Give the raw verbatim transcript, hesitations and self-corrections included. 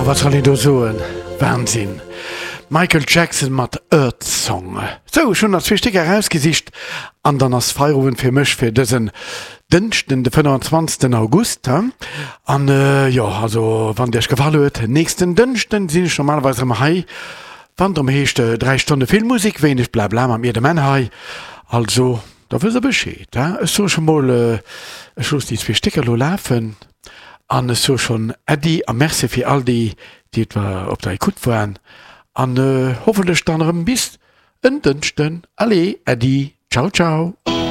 wat soll een do soen? Wahnsinn! Michael Jackson mat Earth Song. Sou, ech hunn nach zwee Stécker erausgesicht an dann ass Feierowend fir mech fir dësen Dënschden, de fënnwanzwanzegsten August. An jo, also wann et iech gefall huet, nächsten Dënschden sinn ech normalerweis erëm hei, wann et erëm heescht dräi Stonne vill Musek, wéineg Blabla mat mir, dem Menn hei. Also, da wësst der Bescheed. Ech soe scho mol, ech loossen déi zwee Stécker elo lafen an ech soe schonn Äddi a Merci fir all déi, déi et op der Ecoute waren an hoffentlech dann erëm bis en Dënschden. Allez, Äddi, ciao, ciao.